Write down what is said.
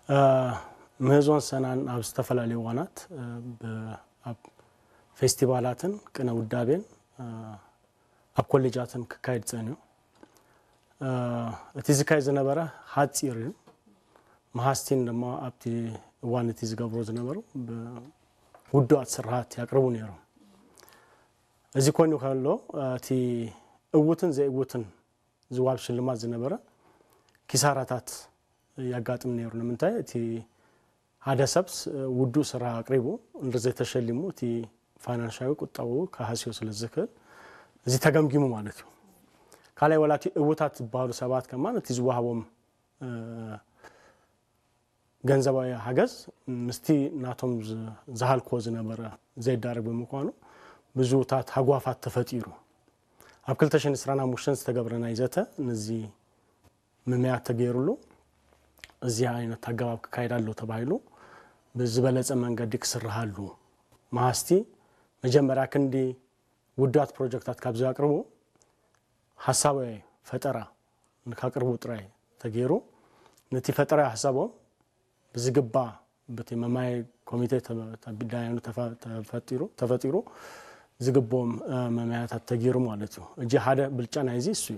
ምህዞን ሰናን ኣብ ዝተፈላለዩ እዋናት ኣብ ፌስቲቫላትን ቅነ ውዳቤን ኣብ ኮሌጃትን ክካየድ ጸንዩ። እቲ ዝካየድ ዝነበረ ሓፂር እዩ። መሃስቲን ድማ ኣብቲ እዋን እቲ ዝገብሮ ዝነበሩ ውዱኣት ስርሓት ያቅርቡ ነይሮም። እዚ ኮይኑ ከሎ እቲ እውትን ዘይእውትን ዝዋብ ሽልማት ዝነበረ ኪሳራታት ያጋጥም ነይሩ። ንምንታይ እቲ ሓደ ሰብ ውዱእ ስራሕ ኣቅሪቡ እንድዘይተሸሊሙ እቲ ፋይናንሻዊ ቁጠባዊ ክሃስዮ ስለ ዝኽእል እዚ ተገምጊሙ ማለት እዩ። ካልኣይ ወላ እቲ እውታት ዝበሃሉ ሰባት ከማን እቲ ዝወሃቦም ገንዘባዊ ሓገዝ ምስቲ ናቶም ዝሃልክዎ ዝነበረ ዘይዳረግ ብምኳኑ ብዙታት ሃጓፋት ተፈጢሩ። ኣብ ክልተ ሽሕን ዕስራን ሓሙሽተን ዝተገብረ ናይ ዘተ ነዚ ምምያት ተገይሩሉ እዚ ዓይነት ኣገባብ ክካየድ ኣሎ ተባሂሉ ብዝበለፀ መንገዲ ክስርሃሉ መሃስቲ መጀመርያ ክንዲ ውዳት ፕሮጀክታት ካብ ዘቅርቡ ሓሳብ ፈጠራ ንካቅርቡ ጥራይ ተገይሩ ነቲ ፈጠራ ሓሳቦም ብዝግባ በቲ መማይ ኮሚቴ ዳያኑ ተፈጢሩ ዝግቦም መማያታት ተገይሩ ማለት እዩ። እጂ ሓደ ብልጫ ናይዚ እሱ እዩ።